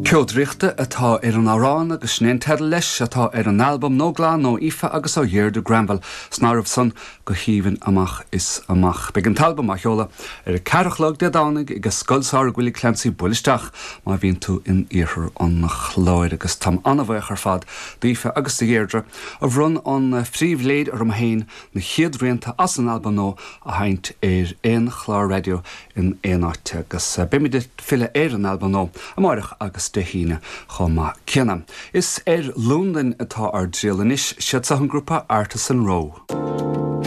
Ceo Draíochta atá ar an amhrán agus sin é an teideal leis atá ar an albam nua glan ó Aoife agus ó Dheirdre Granville san áireamh san go haoibhinn amach is amach. Beidh an t-albam á sheoladh ar a ceathair a chlog Dé Domhnaigh ag Scoil Samhraidh Willie Clancy buail isteach má bhíonn tú in iarthar an Chláir agus táim an-bhuíoch ar fad d'Aoife agus do Dheirdre a bhronn an phríbhléid orm féin na chéad rianta as an albam nua a sheinnt ar aon chlár raidió in aon áit agus beimid ag filleadh ar an albam nua amáireach agus Dé hAoine chomh maith céanna. Is ar Londain atá ár dtriall anois, siad seo an grúpa Artisan Row.